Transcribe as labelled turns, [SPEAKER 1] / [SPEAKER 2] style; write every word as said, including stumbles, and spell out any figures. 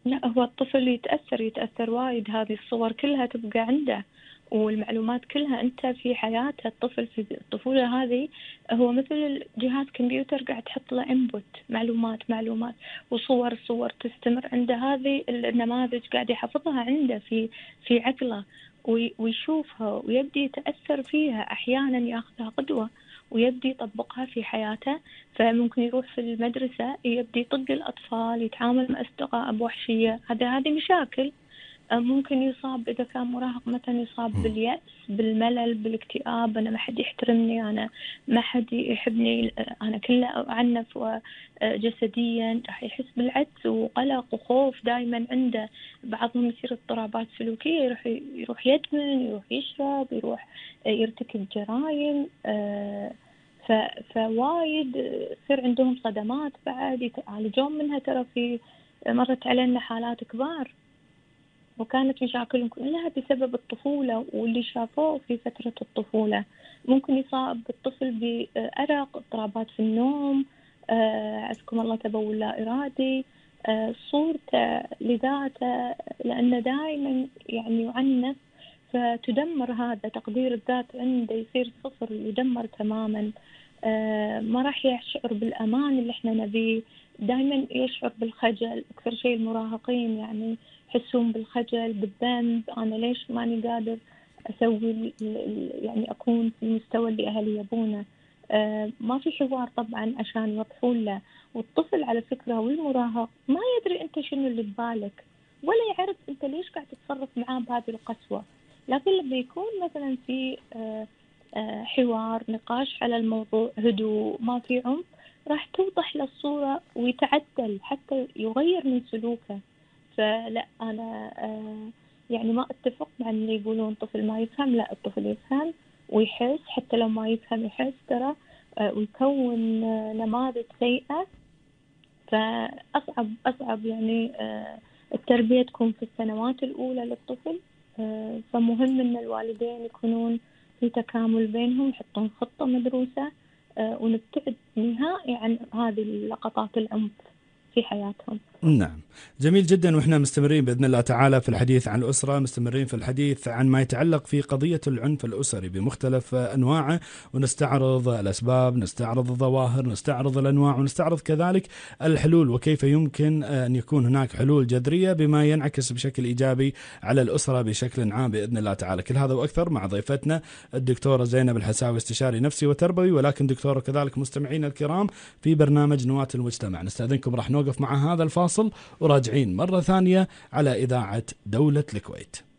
[SPEAKER 1] لأ، هو الطفل يتأثّر، يتأثّر وايد، هذه الصور كلها تبقى عنده، والمعلومات كلها أنت في حياته. الطفل في الطفولة هذه هو مثل جهاز كمبيوتر قاعد تحط له input، معلومات، معلومات وصور، صور تستمر عنده. هذه النماذج قاعد يحفظها عنده في في عقله، وي ويشوفها ويبدي يتأثّر فيها، أحيانًا ياخذها قدوة ويبدي يطبّقها في حياته. فممكن يروح في المدرسة يبدي يطق الأطفال، يتعامل مع أصدقاء بوحشية، هذا هذه مشاكل. آه، ممكن يصاب إذا كان مراهق مثلا يصاب
[SPEAKER 2] مم.
[SPEAKER 1] باليأس، بالملل، بالاكتئاب. أنا ما حد يحترمني، أنا ما حد يحبني، آه، أنا كله أعنف جسديا. راح يحس بالعجز وقلق وخوف دائما عنده. بعضهم يصير اضطرابات سلوكية، يروح يروح يدمن، يروح يشرب، يروح آه، يرتكب جرائم. آه، ف... فوايد يصير عندهم صدمات بعد يتعالجون منها. ترى في مرت علينا حالات كبار وكانت مشاكلهم كلها بسبب الطفولة واللي شافوه في فترة الطفولة. ممكن يصاب الطفل بأرق، اضطرابات في النوم، آه، عزكم الله تبول لا إرادي، آه، صورته لذاته، لأنه دائما يعني يعنف، فتدمر هذا تقدير الذات عنده، يصير صفر، يدمر تماما. آه، ما راح يشعر بالأمان اللي احنا نبيه، دائما يشعر بالخجل. أكثر شيء المراهقين يعني يحسون بالخجل، بالذنب، أنا ليش ماني قادر أسوي يعني أكون في المستوى اللي أهلي يبونه. آه، ما في حوار طبعا عشان يوضحون له. والطفل على فكرة والمراهق ما يدري أنت شنو اللي ببالك، ولا يعرف أنت ليش قاعد تتصرف معاه بهذه القسوة. لكن لما يكون مثلا في آه، آه، حوار، نقاش على الموضوع، هدوء، ما في عنف، راح توضح له الصورة ويتعدل حتى يغير من سلوكه. فلا أنا آه يعني ما أتفق مع اللي يقولون طفل ما يفهم. لا، الطفل يفهم ويحس، حتى لو ما يفهم يحس ترى، آه ويكون آه نماذج سيئة. فأصعب أصعب يعني آه التربية تكون في السنوات الأولى للطفل. آه فمهم أن الوالدين يكونون في تكامل بينهم، يحطون خطة مدروسة، آه ونبتعد نهائي عن هذه اللقطات العنف في حياتهم.
[SPEAKER 2] نعم، جميل جدا. وإحنا مستمرين بإذن الله تعالى في الحديث عن الأسرة، مستمرين في الحديث عن ما يتعلق في قضية العنف الأسري بمختلف أنواعه، ونستعرض الأسباب، نستعرض الظواهر، نستعرض الأنواع، ونستعرض كذلك الحلول، وكيف يمكن أن يكون هناك حلول جذرية بما ينعكس بشكل إيجابي على الأسرة بشكل عام بإذن الله تعالى. كل هذا وأكثر مع ضيفتنا الدكتورة زينب الحساوي، استشاري نفسي وتربوي، ولكن دكتورة كذلك مستمعين الكرام في برنامج نواة المجتمع. نستأذنكم، راح نوقف مع هذا الفاصل وراجعين مرة ثانية على إذاعة دولة الكويت.